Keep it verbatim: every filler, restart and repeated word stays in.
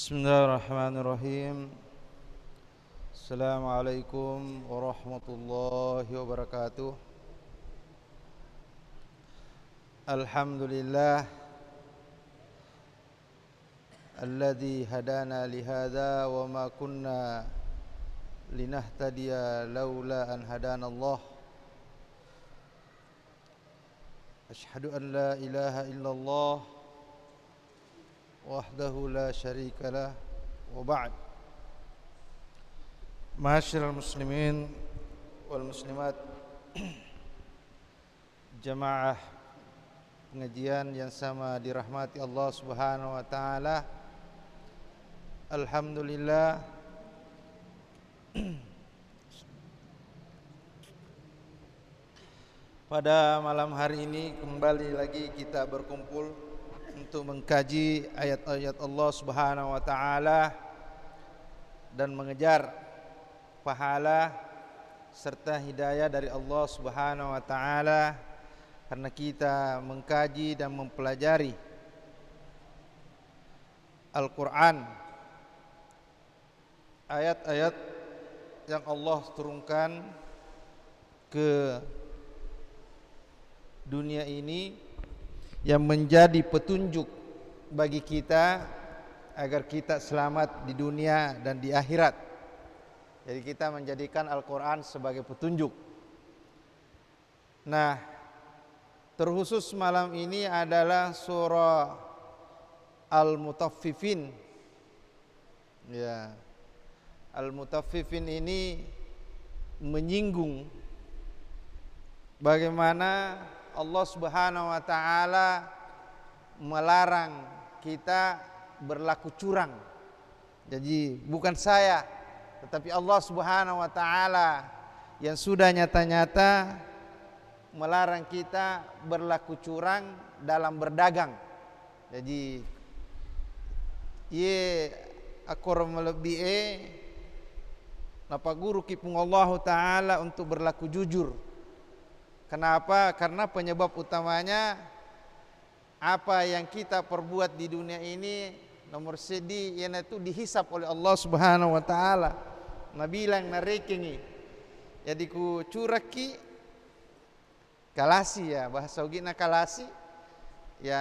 Bismillahirrahmanirrahim. Assalamualaikum warahmatullahi wabarakatuh. Alhamdulillah alladzi hadana lihadza wa ma kunna linahtadiya laula an hadanallah. Asyhadu an la ilaha illallah wahdahu la syarikalah, wa ba'd. Ma'asyiral muslimin wal muslimat, jamaah pengajian yang sama dirahmati Allah Subhanahu wa taala. Alhamdulillah, pada malam hari ini kembali lagi kita berkumpul untuk mengkaji ayat-ayat Allah Subhanahu wa taala dan mengejar pahala serta hidayah dari Allah Subhanahu wa taala karena kita mengkaji dan mempelajari Al-Qur'an, ayat-ayat yang Allah turunkan ke dunia ini yang menjadi petunjuk bagi kita agar kita selamat di dunia dan di akhirat. Jadi kita menjadikan Al-Qur'an sebagai petunjuk. Nah, terkhusus malam ini adalah surah Al-Mutaffifin. Ya. Al-Mutaffifin ini menyinggung bagaimana Allah Subhanahu wa taala melarang kita berlaku curang. Jadi, bukan saya, tetapi Allah Subhanahu wa taala yang sudah nyata-nyata melarang kita berlaku curang dalam berdagang. Jadi, iye akkoro malebbi'e napagguruki Puang Allahu Ta'ala untuk berlaku jujur. Kenapa? Karena penyebab utamanya, apa yang kita perbuat di dunia ini, nomor seddi, iyanatu dihisab oleh Allah Subhanahu wa Ta'ala. Nabilang, narekengi. Jadi, ku curakki, kalasi, ya, bahasa Ugina kalasi, ya,